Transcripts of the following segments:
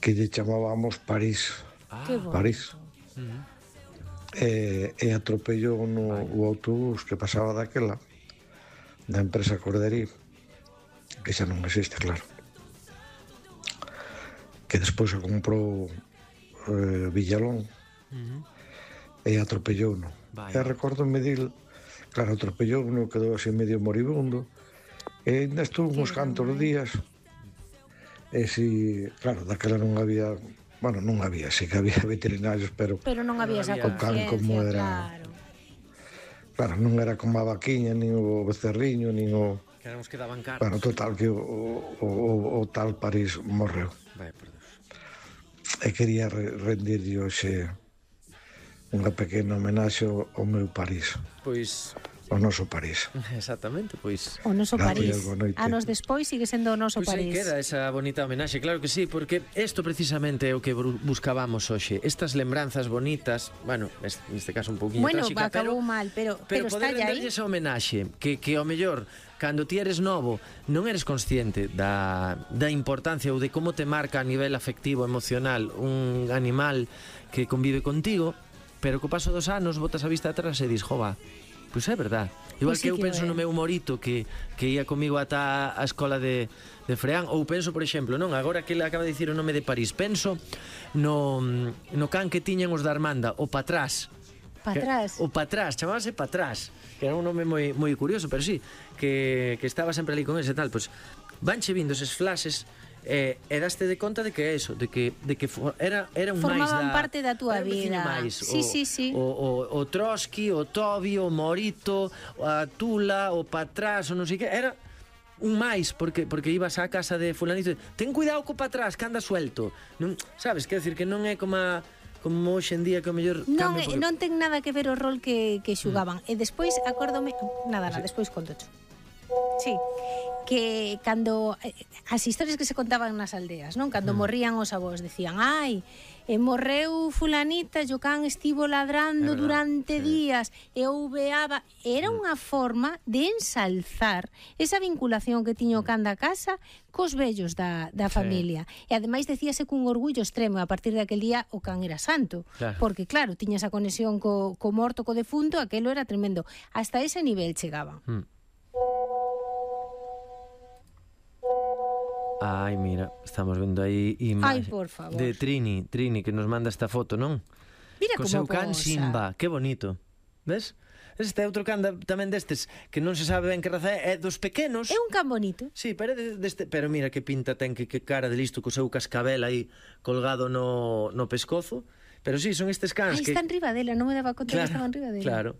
que lle chamábamos París. Que bonito. París. E atropellou o autobús que pasaba daquela da empresa Corderí, que xa non existe, claro, que despois se comprou Villalón, e atropellou no. E recordo dil, claro, atropellou no, quedou así medio moribundo, e ainda estuvo uns cantos días, e si, claro, daquela non había, bueno, non había, sí que había veterinarios, pero non había esa o can como conciencia, era, claro, non era como a vaquiña, nin o becerriño, nin o... Que eran os que daban cartos. Bueno, total, que o tal París morreu. Vai, por Deus. E quería rendirlle hoxe unha pequena homenaxe ao meu París. Pois... O noso París. Exactamente, pois... O noso París. Boa noite. Anos despois sigue sendo o noso Pois París. aí queda esa bonita homenaxe, claro que sí, porque isto precisamente é o que buscábamos hoxe. Estas lembranzas bonitas, bueno, neste caso un pouquinho tráxica, acabou mal, pero poder está aí. renderlle esa homenaxe, que ao mellor, cando ti eres novo, non eres consciente da importancia ou de como te marca a nivel afectivo, emocional, un animal que convive contigo, pero co paso dos anos botas a vista atrás e dis, jova, pois é verdad. Igual que eu penso no meu morito que ia comigo ata a escola de Freán, ou penso, por exemplo, non, agora que ele acaba de dicir o nome de París, penso no can que tiñan os da Armanda, o Patrás. Patrás. O Patrás, chamábase Patrás, que era un nome moi curioso, pero sí, que estaba sempre ali con ese tal, pois vanche vindo eses flashes. E daste de conta de que é eso, de que era un máis da... Formaban parte da túa vida. Máis, sí. O Trotsky, o Tobi, o Morito, a Tula, o Patrás, o non sei que, era un máis, porque ibas á casa de fulanito, ten cuidado co Patrás, que anda suelto. Non, sabes, quer decir que non é como hoxe en día que o mellor non ten nada que ver o rol que xugaban. E despois acórdome, nada, despois contocho. Sí, que cando as historias que se contaban nas aldeas, non? Cando morrían os avós, decían, ai, morreu fulanita, o can estivo ladrando durante días e ouveaba. Era unha forma de ensalzar esa vinculación que tiña o can da casa cos vellos da familia. E ademais decíase cun orgullo extremo, a partir daquel día o can era santo, porque claro, tiña esa conexión co morto, co defunto, aquelo era tremendo. Hasta ese nivel chegaban. Ai, mira, estamos vendo aí imaxe de Trini, que nos manda esta foto, non? Mira co seu can Simba, que bonito. Ves? Este é outro can tamén destes que non se sabe ben que raza é dos pequenos. É un can bonito. Sí, pero mira que pinta ten, que cara de listo co seu cascabel aí colgado no pescozo. Pero sí, son estes cans que... Está en riba dela, non me daba conta que estaban en riba dela. Claro.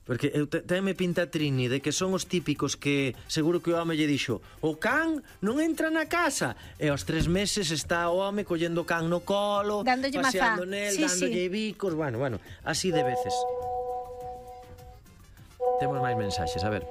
Porque me pinta Trini de que son os típicos que seguro que o home lle dixo, o can non entra na casa, e aos 3 meses está o home collendo o can no colo, dándolle paseando nel, dándolle bicos, bueno, así de veces. Temos máis mensaxes, a ver.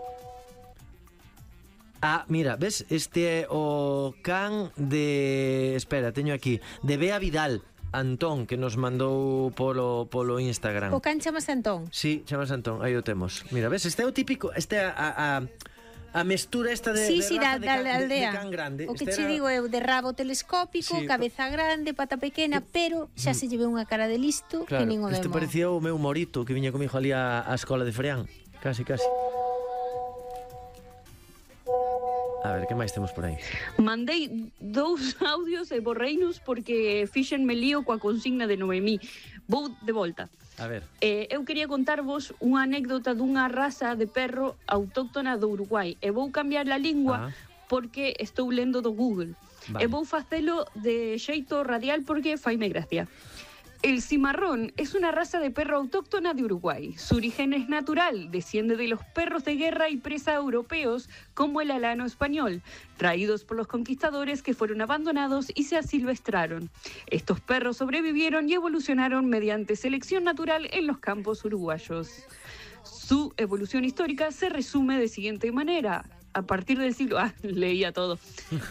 Mira, ves, este é o can de... Espera, teño aquí, de Bea Vidal, Antón, que nos mandou polo Instagram. O can chamase Antón? Sí, chamase Antón, aí o temos. Mira, ves, este é o típico, este é a mestura esta de raza de can grande. O que che digo é de rabo telescópico, cabeza grande, pata pequena, pero xa se lleve unha cara de listo que nin o demo. Este parecía o meu Morito que viña comigo ali á escola de Freán. Casi. A ver, que máis temos por aí? Mandei 2 audios e borreinos porque fixenme lío coa consigna de Noemí. Vou de volta. A ver. Eu quería contarvos unha anécdota dunha raza de perro autóctona do Uruguai. E vou cambiar a lingua porque estou lendo do Google. E vou facelo de xeito radial porque faime gracia. El cimarrón es una raza de perro autóctona de Uruguay. Su origen es natural, desciende de los perros de guerra y presa europeos como el alano español, traídos por los conquistadores que fueron abandonados y se asilvestraron. Estos perros sobrevivieron y evolucionaron mediante selección natural en los campos uruguayos. Su evolución histórica se resume de siguiente manera. A partir del siglo... leía todo.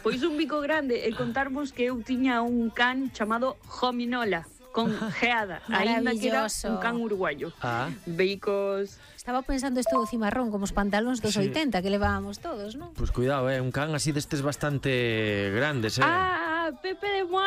Pois un bico grande, e contarvos que eu tiña un can chamado Hominola, con geada, ainda que era un can uruguayo. Bicos... Estaba pensando isto do cimarrón, como os pantalóns dos 80 que levábamos todos, non? Pois cuidado, un can así destes bastante grandes, Pepe de Moa